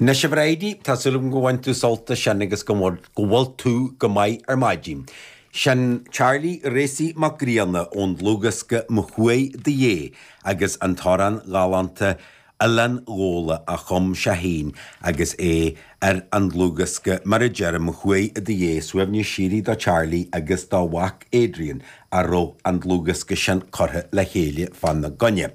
Anois a Bhridie, tá súil agam go bhain tú sult as sin agus go bhfuil tú go maith ar maidin. Sin Charlie Racy Mac Grianna ón dlúthdhiosca Mo Chuaigh do Dhé agus an t-amhrán galánta Oileán Ghabhla a chum sé féin agus é ar an dlúthdhiosca mar a deirim, Mo Chuaigh i do Dhiaidh, suaimhneas síoraí do Charlie agus dá mhac Adrian a raibh an dlúthdhiosca sin curtha le chéile fána gcoinne.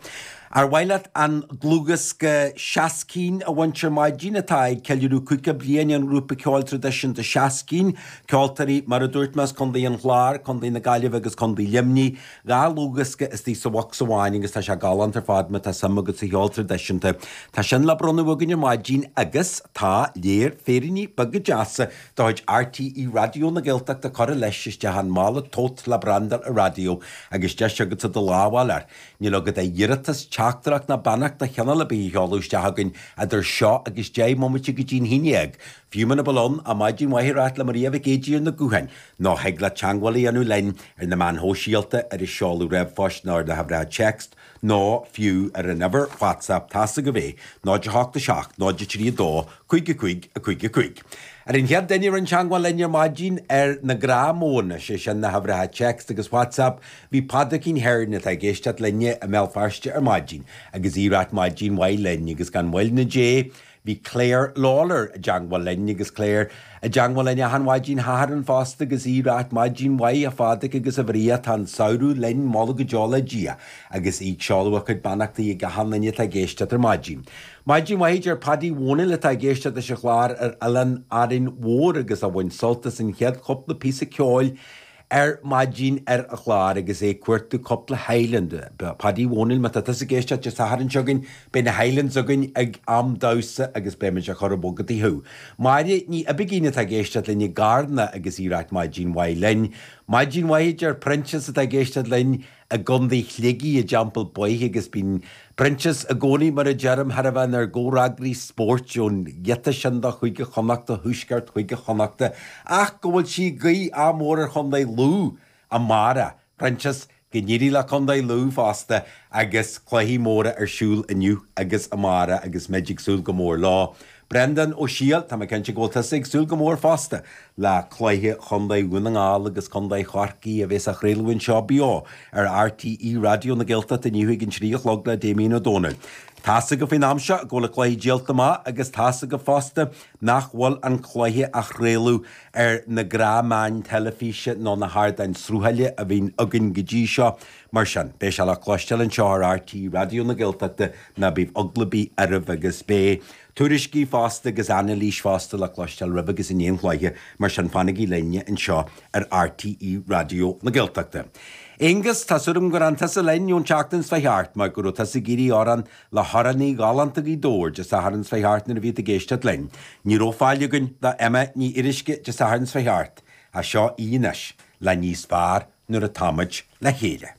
Ar mhaith leat an dlúthdhiosca Seascín a bhaint ar maidin atá ag ceiliúradh 50 bliain an ghrúpa ceoil traidisiúnta Seascín, ceoltóirí mar a dúirt mé as Contae an Chláir, Contae na Gaillimhe agus Contae Luimnigh, 2 dhlúthdhiosca istigh sa bhocsa amháin agus tá sé galánta ar fad má tá suim agat sa cheol traidisiúnta. Tá sin le bronnadh againn ar maidin agus tá léar féiríní beaga deasa de chuid RTÉ Raidió na Gaeltachta curtha leis isteach an mála tote le brandáil an raidió agus deis agatsa do lámh a fháil air. Níl agat ach iarratas, teachtaireacht ná beannacht de chineál ar bith a sheoladh isteach chugainn idir seo agus 10 mbomaite go dtí'n haon dhéag. Fiú muna bhfuil ann ach maidin mhaith a ráit le Maria Mhic Éadaigh ar na gutháin, nó thig leat teagmháil a dhéanamh linn ar na meáin shóisialta, ar an seoladh ríomhphoist nó ar na huimhreacha téacs, nó fiú ar an uimhir WhatsApp, tá's agaibh é, 0 8 7 0 3 2 5 5 5 5. Ar an chéad duine a rinne teagmháil linn ar maidin ar na gnáthmhodhanna, sé sin na huimhreacha téacs agus WhatsApp, bhí Pádraicín Hearne atá ag éisteacht linne i mBéal Feirste ar maidin agus í ag ráit maidin mhaith linn agus gan mhoill ná dé, Bhí Claire Lawlor i dteangmháil linn agus Claire i dteangmháil linn achan mhaidin Shathairn fosta agus í ag ráit maidin mhaith a Phádraic agus a Mharia tá an samhradh linn moladh go deo le Dia agus í ag seoladh a cuid beannachtaí ag achan duine atá ag éisteacht ar maidin. Maidin mhaith a deir Paddy Dhónaill atá ag éisteacht leis an chlár ar Oileán Árainn Mhór agus a bhain sult as an chéad chúpla píosa ceoil ar maidin ar an chlár agus é ag cuartú cúpla Highland. Paddy Dhónaill, má tá tusa ag éisteacht Dé Sathairn seo chugainn, beidh na Highlands againn ag am damhsa agus beimid á chur i bhfogaidí thú. Máire Ní Oibigín atá ag éisteacht linn i gCarna agus í ag ráit maidin mhaith linn. Maidin mhaith a deir Proinsias atá ag éisteacht linn i gContae Shligigh i dTeampall Bhaoith agus bíonn Proinsias i gcónaí, mar a deirim, thar a bheith inár gcomhfhreagraí spóirt ón ghiota sin de Chúige Chonnachta, thuaisceart Chúige Chonnachta, ach go bhfuil sí ag guí ádh mór ar Chontae Lú amárach. Proinsias, go n-éirí le Contae Lú fosta agus cluichí móra ar siúl inniu agus amárach agus muid ag súil go mór leo. Breandán Ó Siadhail, tá mé cinnte go bhfuil tusa ag súil go mór fosta le cluiche Chontae Dhún na nGall agus Contae Chorcaí a bheas á chraoladh anseo beo ar RTÉ Raidió na Gaeltachta inniu ag an 3 a chlog le Damien Ó Dónaill. Tá's agaibh faoin am seo go bhfuil an cluiche díolta amach agus tá's agaibh fosta nach bhfuil an cluiche á chraoladh ar na gnáthmheáin teilifíse nó na hardáin sruthaithe a bhíonn againn go dtí seo. Mar sin, beidh sé le cloisteáil anseo ar RTÉ Raidió na Gaeltachta, ná bíodh eagla ar bith oraibh agus beidh Tuairiscí fosta agus anailís fosta le cloisteáil roimh agus i ndiaidh an chluiche, mar sin fanaigí linne anseo ar RTÉ Raidió na Gaeltachta. Aonghus, tá súil agam gur fhan tusa linn ón tseachtain seo thart mar go raibh tusa ag iarraidh amhrán le hamhránaí galánta Ghaoth Dobhair Dé Sathairn seo thart nuair a bhí tú ag éisteacht linn. Ní raibh fáil againn do Emma Ní Fhíoruisce Dé Sathairn seo thart, ach seo í anois le Níos Fearr Nuair Atáimid Le Chéile.